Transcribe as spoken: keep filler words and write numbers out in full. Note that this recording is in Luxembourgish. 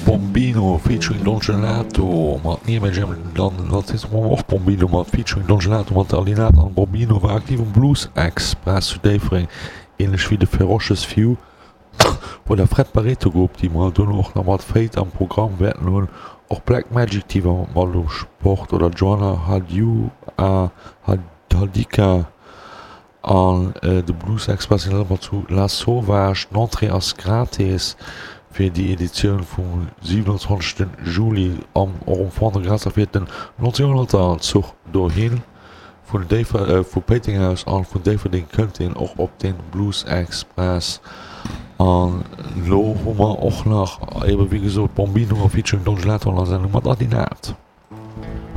Bombino featuring Don Gelato mat Near May Jam, dann als nächstes hu mer och Bombino mat featuring Don Gelato mat Alinat an Bombino war aktiv um Blues Express zu Déifferdeng, ähnlech wéi de Ferocious Few oder Fred Barreto Group, déi mer dono och nach mat Fate am Programm wäerten hunn. Och Black Magic Team war mat um Sport oder Joanna Hadiu Hadika an de Blues Express sinn ëmmer zu La Sauvage. D'Entrée ass gratis fir déi Editioun vum siwenanzwanzegsten Juli am och um Fond-de-Gras a fiert den nonzénhonnerter Zuch dohin. Vun Déifer vu Péiteng aus an vun Déifferdeng kënnt een och op den Blues Express. An lo hu mer och nach ebe wéi gesot Bombino featuring Don Gelato an der Sendung mat Adinat.